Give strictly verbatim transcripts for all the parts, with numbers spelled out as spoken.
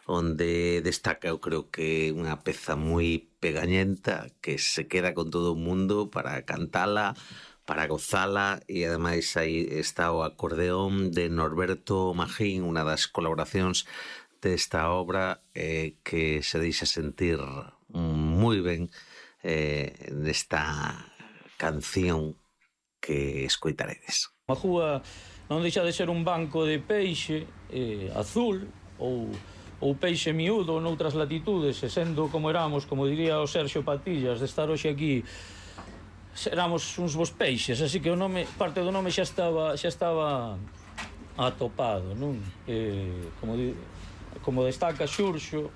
onde destaca, eu creo que unha peza moi pegañenta que se queda con todo o mundo para cantala, para gozala, e ademais aí está o acordeón de Norberto Magín, unha das colaboracións desta obra eh, que se deixa sentir moi ben eh, nesta canción que escoitaredes. A Majúa non deixa de ser un banco de peixe eh, azul ou, ou peixe miúdo noutras latitudes, e sendo como éramos, como diría o Sergio Patillas, de estar hoxe aquí, éramos uns bons peixes, así que o nome, parte do nome xa estaba xa estaba atopado, non? Eh, como, di, como destaca Xurxo,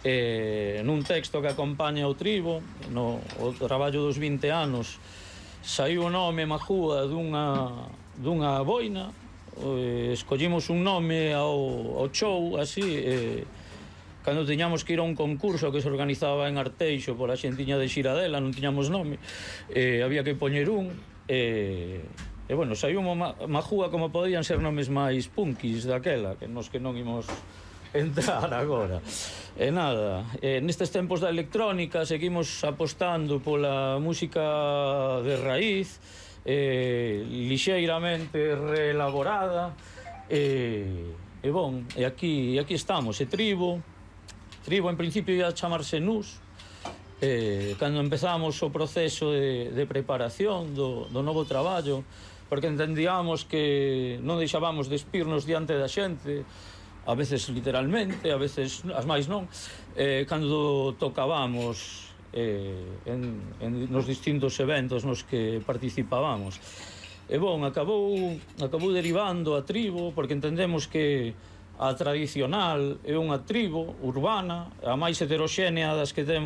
eh, nun texto que acompaña o tribo, no o traballo dos vinte anos, saiu o nome Majúa dunha, dunha boina, eh, escollimos un nome ao, ao show, así, eh, cando tiñamos que ir a un concurso que se organizaba en Arteixo pola xentiña de Xiradela, non tiñamos nome, eh, había que poñer un, eh, e, bueno, saiu Majúa como podían ser nomes máis punkis daquela, que nos que non imos entrar agora. E nada, eh, nestes tempos da electrónica seguimos apostando pola música de raíz, eh, lixeiramente reelaborada, e, e bon, e aquí, e aquí estamos, e Tribo, Tribo en principio ia chamarse Nus, eh, cando empezamos o proceso de, de preparación do, do novo traballo, porque entendíamos que non deixábamos de espirnos diante da xente, a veces literalmente, a veces as máis non, eh, cando tocábamos eh, en, en, nos distintos eventos nos que participábamos. E bon, acabou, acabou derivando a Tribo, porque entendemos que a tradicional é unha tribo urbana, a máis heteroxénea das que temos